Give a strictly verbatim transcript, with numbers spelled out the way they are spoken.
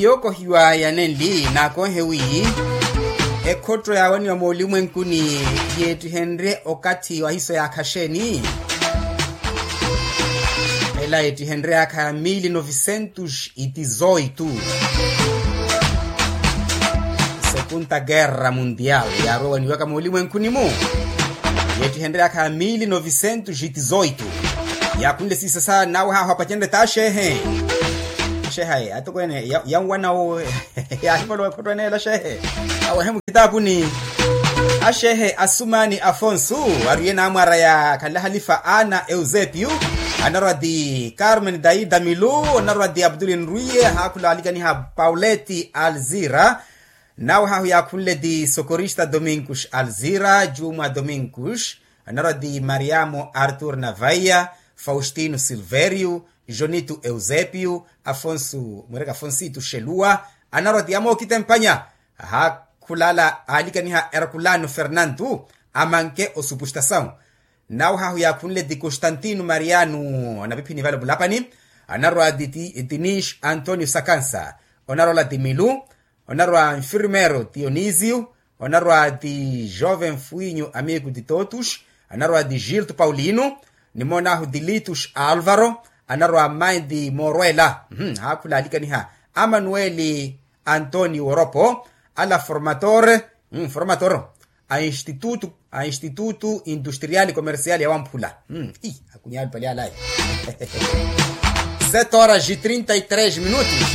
Yookohiwa ya nenli naakonhe wi ekhotto yaawaniwa moolimwenkuni yeettihenrye okathi wa hiso yaakha xeeni? Ela yeettihenrye yaakha ya mili novisentus itizoitu. Sekunta kerra muntial yaarowaniwaka moolimwenkuni-mu. Yeettihenrye yaakha ya mili novisentus itizoitu. Yaakhunle siisasa nawe haahu apacenrye t'axeehe. Axeehaye atokweene yanwana wo. Yaahivolowa ekhotto eneela axeehe. Awehe mukitaapuni. Axeehe asumani afonsu, ariye naamwaraya khanle halifa ana eusepiu. Anarwa ti carmen daida milu. Onarwa ti abduli nrwiye haakhula alikaniha pauleti alzira. Nawe haahu yaakhunle ti sokorista dominkus alzira jumwa dominkus. Anarwa ti mariamo artur navaiya, faustino silverio, jonito eusepiu, afonso mwereke afonsito xeluwa. Anarwa ti amookitempanya haakhulala aalikaniha herkulano fernanto, amanke osupustasawu. Nawe haahu yaakhunle ti constantino mariano anapiphini vale vulapani. Anarwa ti tinis antonio sakansa. Onarwa ola ti milu. Onarwa nfirmero dionisio. Onarwa ti joven fuinyo amigo ti totus. Anarwa ti gilto paulino. Nimoon'ahu ti litus alvaro. Anarwa mmayi ti moorwela. Haakhula alikaniha amanueli antonio woropo. Ala formator formator a instituto a instituto industrial comercial ya wamphula. Akunyali pali alayi. Sete horas e trinta e três minutos.